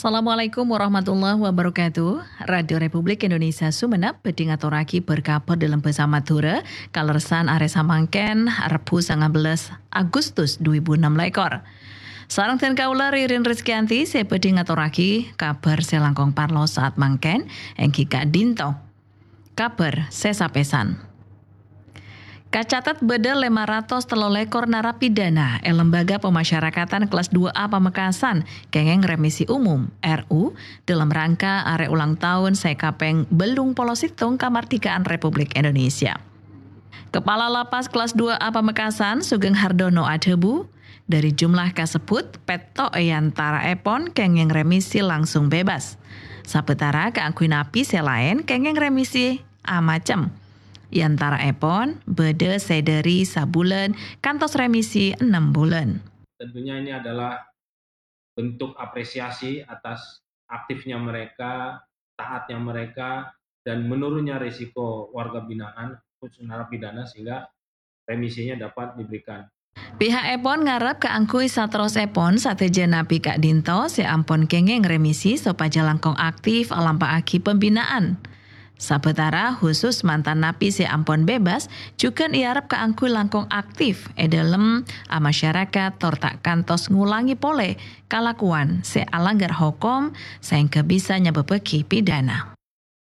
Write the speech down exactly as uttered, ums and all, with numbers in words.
Assalamualaikum warahmatullahi wabarakatuh. Radio Republik Indonesia Sumenep bhâdhi ngatorraghi bâr-kabhâr dâlem bhâsa Madhurâ, kalerressan arè samangkèn, Rebbhu sanga bellas Agustus dhu èbu ennem lèkor. Sareng dhân kaulâ Ririn Rizkyanti sè bhâdhi ngatorraghi kabhâr sè langkong parlo sa'at mangkèn, èngghi ka'dinto. Kabhâr sè sapèsan. Kacatet bâdâ lèma ratos tello lèkor narapidana è Lembaga Pemasyarakatan Kelas dua A Pamekasan kèngèng remisi umum, R U, dâlem rangka arè ulang taon sè kapèng bâllung polo sèttong kamardhikaan Republik Indonesia. Kepala Lapas Kelas dua A Pamekasan, Sugeng Hardono adhâbu, dâri jumlah kasebbhut, pètto' è antaraèpon kèngèng remisi langsung bebas. Sabâtara kaangghuy napi sè laèn kèngèng remisi amacem. È antaraèpon bâdâ sè dâri sabulân kantos remisi ennem bulân. Tentunya ini adalah bentuk apresiasi atas aktifnya mereka, taatnya mereka, dan menurunnya risiko warga binaan, khusus narapidana, sehingga remisinya dapat diberikan. Pihakèpon ngarep kaangghuy saterrossèpon sadhâjâ napi ka'dinto sè ampon kèngèng remisi sopajâ langkong aktif alampa'aghi pembinaan. Sabâtara, khusus mantan napi sè ampon bebas, jhughân èarep kaangghuy langkong aktif è dâlem amasyarakat tor ta' kantos ngolangè polè kalakowan sè alangghâr hokom saèngghâ bisa nyabâbbhâghi pidana.